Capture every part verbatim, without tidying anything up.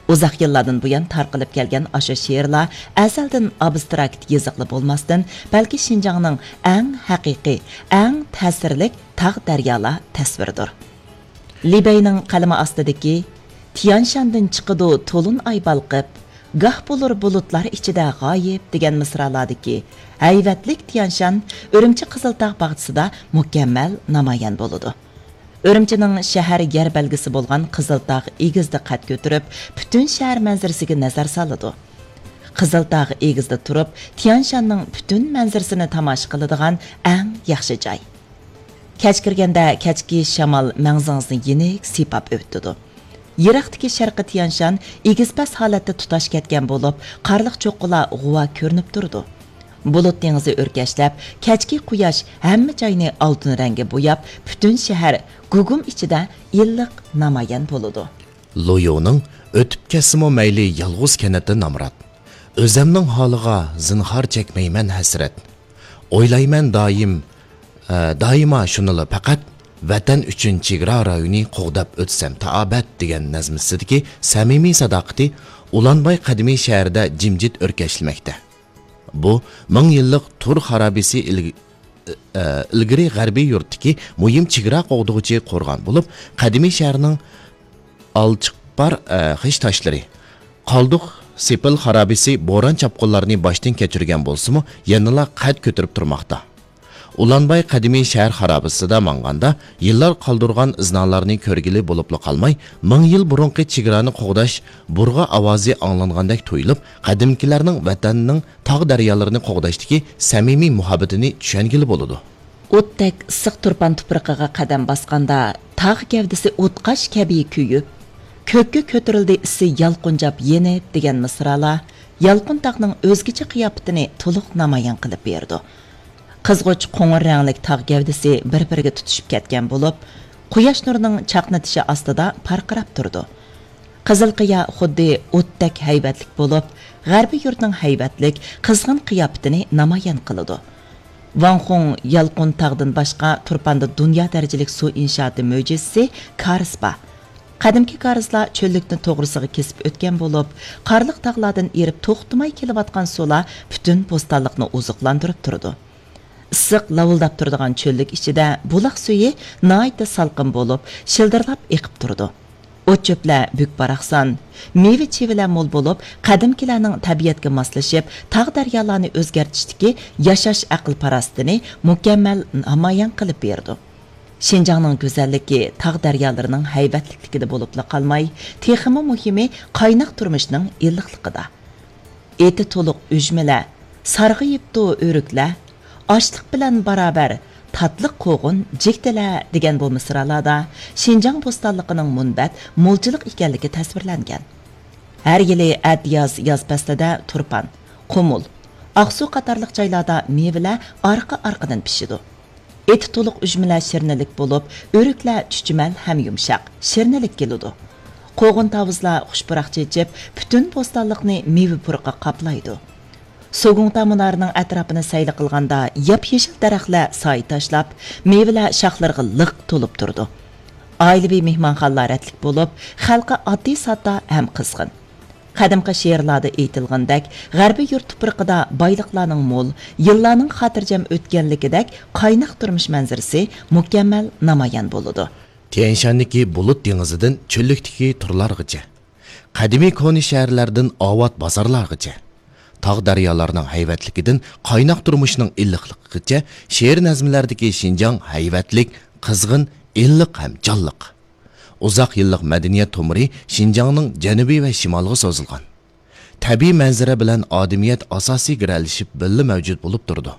ئۇزاق يىللاردىن بۇيان تارقىلىپ كەلگەن ئاشۇ شېئىرلار ئەزەلدىن ئابستراكت يېزىقلا بولماستىن، بەلكى شىنجاڭنىڭ ئەڭ ھەقىقىي، ئەڭ تەسىرلىك تاغ-دەريالار تەسۋىرىدۇر. لى بەينىڭ قەلىمى ئاستىدىكى «تيانشاندىن چىقىدۇ تولۇن ئاي بالقىپ، گاھ بولۇر بۇلۇتلار ئىچىدە غايىب» دېگەن مىسرالاردىكى ھەيۋەتلىك تيانشان ئۈرۈمچى قىزىلتاغ باغچىسىدا مۇكەممەل نامايان بولىدۇ. ئۈرۈمچىنىڭ شەھەر يەر بەلگىسى بولغان قىزىلتاغ ئېگىزىدە قەد كۆتۈرۈپ، پۈتۈن شەھەر مەنزىرىسىگە نەزەر سالىدۇ. قىزىلتاغ ئېگىزىدە تۇرۇپ، تيانشاننىڭ پۈتۈن مەنزىرىسىنى تاماشا قىلىدىغان ئەڭ ياخشى جاي. كەچ كىرگەندە كەچكى شامال مەڭزىڭىزنى يېنىك سىيپاپ ئۆتىدۇ. يىراقتىكى شەرقىي تيانشان ئېگىز-پەس ھالەتتە تۇتاش كەتكەن بولۇپ، قارلىق چوققىلار غۇۋا كۆرۈنۈپ تۇرىدۇ. بۇلۇت دېڭىزى ئۆركەشلەپ، كەچكى قۇياش ھەممە جاينى ئالتۇن رەڭگە بوياپ، پۈتۈن شەھەر گۇگۇم ئىچىدە ئىللىق نامايان بولىدۇ. لۇيۇنىڭ ئۆتۈپ كەتسىمۇ مەيلى يالغۇز كەنتتە نامرات. ئۆزەمنىڭ ھالىغا زىنھار چەكمەيمەن ھەسرەت. ئويلايمەن دائىم، ئە، دائىما شۇنىلا پەقەت، ۋەتەن ئۈچۈن چېگرا رايونى قوغداپ ئۆتسەم تائابەت دېگەن نەزمىسىدىكى سەمىمىي ساداقىتى ئۇلانباي قەدىمىي شەھىرىدە جىمجىت ئۆركەشلىمەكتە. بۇ مىڭ يىللىق تۇر خارابىسى ئىلگ-، ئە، ئىلگىرى غەربىي يۇرتتىكى مۇھىم چېگرا قوغدىغۇچى قورغان بولۇپ، قەدىمىي شەھەرنىڭ ئالچىقپار، ئە، خىش تاشلىرى، قالدۇق سېپىل خارابىسى بوران-چاپقۇنلارنى باشتىن كەچۈرگەن بولسىمۇ، يەنىلا قەد كۆتۈرۈپ تۇرماقتا. ئۇلانباي قەدىمىي شەھەر خارابىسىدا ماڭغاندا، يىللار قالدۇرغان ئىزنالارنى كۆرگىلى بولۇپلا قالماي، مىڭ يىل بۇرۇنقى چېگرانى قوغداش بۇرغا ئاۋازى ئاڭلانغاندەك تۇيۇلۇپ، قەدىمكىلەرنىڭ ۋەتەننىڭ تاغ-دەريالىرىنى قوغداشتىكى سەمىمىي مۇھەببىتىنى چۈشەنگىلى بولىدۇ. ئوتتەك ئىسسىق تۇرپان تۇپرىقىغا قەدەم باسقاندا، تاغ گەۋدىسى ئوتقاش كەبى كۆيۈپ، كۆككە كۆتۈرۈلدى ئىسسى يالقۇنجاپ يېنىپ دېگەن مىسرالار يالقۇن تاغنىڭ ئۆزگىچە قىياپىتىنى تولۇق نامايان قىلىپ بېرىدۇ. قىزغۇچ قوڭۇر رەڭلىك تاغ گەۋدىسى بىر-بىرىگە تۇتىشىپ كەتكەن بولۇپ، قۇياش نۇرىنىڭ چاقنىتىشى ئاستىدا پارقىراپ تۇرىدۇ. قىزىل قىيا خۇددى ئوتتەك ھەيۋەتلىك بولۇپ، غەربىي يۇرتنىڭ ھەيۋەتلىك، قىزغىن قىياپىتىنى نامايان قىلىدۇ. ۋاڭ خۇڭ يالقۇن تاغدىن باشقا تۇرپاندا دۇنيا دەرىجىلىك سۇ ئىنشائاتى مۆجىزىسى كارىز بار. قەدىمكى كارىزلار چۆللۈكنى توغرىسىغا كېسىپ ئۆتكەن بولۇپ، قارلىق تاغلاردىن ئېرىپ توختىماي كېلىۋاتقان سۇلار پۈتۈن بوستانلىقنى ئوزۇقلاندۇرۇپ تۇرىدۇ. ئىسسىق لاۋۇلداپ تۇرىدىغان چۆللۈك ئىچىدە بۇلاق سۈيى ناھايىتى سالقىن بولۇپ، شىلدىرلاپ ئېقىپ تۇرىدۇ. ئوت-چۆپلەر بۈك-باراقسان، مېۋە-چىۋىلەر مول بولۇپ، قەدىمكىلەرنىڭ تەبىئەتكە ماسلىشىپ، تاغ-دەريالارنى ئۆزگەرتىشتىكى ياشاش ئەقىل-پاراسىتىنى مۇكەممەل نامايان قىلىپ بېرىدۇ. شىنجاڭنىڭ گۈزەللىكى تاغ-دەريالىرىنىڭ ھەيۋەتلىكلىكىدە بولۇپلا قالماي، تېخىمۇ مۇھىمى قايناق تۇرمۇشنىڭ ئىللىقلىقىدا. ئېتى تولۇق ئۈجمىلەر، سارغىيىپتۇ ئۆرۈكلەر، ئاشلىق بىلەن باراۋەر تاتلىق قوغۇن جىگدىلەر دېگەن بۇ مىسرالاردا شىنجاڭ بوستانلىقىنىڭ مۇنبەت مولچىلىق ئىكەنلىكى تەسۋىرلەنگەن. ھەر يىلى ئەتىياز ياز پەسلىدە تۇرپان، قۇمۇل، ئاقسۇ قاتارلىق جايلاردا مېۋىلەر ئارقا-ئارقىدىن پىشىدۇ. ئېتى تولۇق ئۈجمىلەر شىرنىلىك بولۇپ، ئۆرۈكلەر چۈچۈمەل ھەم يۇمشاق، شىرنىلىك كېلىدۇ. قوغۇن تاۋۇزلار خۇش پۇراق چېچىپ، پۈتۈن بوستانلىقنى مېۋە پۇرىقى قاپلايدۇ. سوگۇڭتا مۇنارىنىڭ ئەتراپىنى سەيلە قىلغاندا، ياپيېشىل دەرەخلەر سايە تاشلاپ، مېۋىلەر شاخلىرىغا لىق تولۇپ تۇرىدۇ. ئائىلىۋى مېھمانخانىلار رەتلىك بولۇپ، خەلقى ئاددىي-ساددا ھەم قىزغىن. قەدىمكى شېئىرلاردا ئېيتىلغىنىدەك، غەربىي يۇرت تۇپرىقىدا بايلىقلارنىڭ مول، يىللارنىڭ خاتىرجەم ئۆتكەنلىكىدەك قايناق تۇرمۇش مەنزىرىسى مۇكەممەل نامايان بولىدۇ. تيەنشاندىكى بۇلۇت دېڭىزىدىن چۆللۈكتىكى تورلارغىچە، قەدىمىي كونا شەھەرلەردىن ئاۋات بازارلارغىچە، تاغ-دەريالارنىڭ ھەيۋەتلىكىدىن قايناق تۇرمۇشنىڭ ئىللىقلىقىغىچە شېئىر نەزمىلەردىكى شىنجاڭ ھەيۋەتلىك، قىزغىن، ئىللىق ھەم جانلىق. ئۇزاق يىللىق مەدەنىيەت تومۇرى شىنجاڭنىڭ جەنۇبى ۋە شىمالىغا سوزۇلغان. تەبىئىي مەنزىرە بىلەن ئادىمىيەت ئاساسىي گىرەلىشىپ بىللە مەۋجۇت بولۇپ تۇرىدۇ.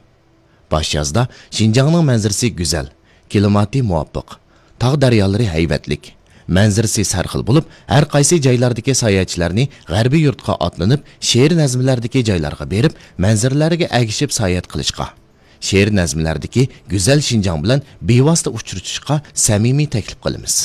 باش يازدا شىنجاڭنىڭ مەنزىرىسى گۈزەل، كىلىماتى مۇۋاپىق، تاغ-دەريالىرى ھەيۋەتلىك، مەنزىرىسى سەرخىل بولۇپ، ھەر قايسى جايلاردىكى ساياھەتچىلەرنى غەربىي يۇرتقا ئاتلىنىپ، شېئىر نەزمىلەردىكى جايلارغا بېرىپ، مەنزىرىلەرگە ئەگىشىپ ساياھەت قىلىشقا، شېئىر نەزمىلەردىكى گۈزەل شىنجاڭ بىلەن بىۋاسىتە ئۇچرىشىشقا سەمىمىي تەكلىپ قىلىمىز.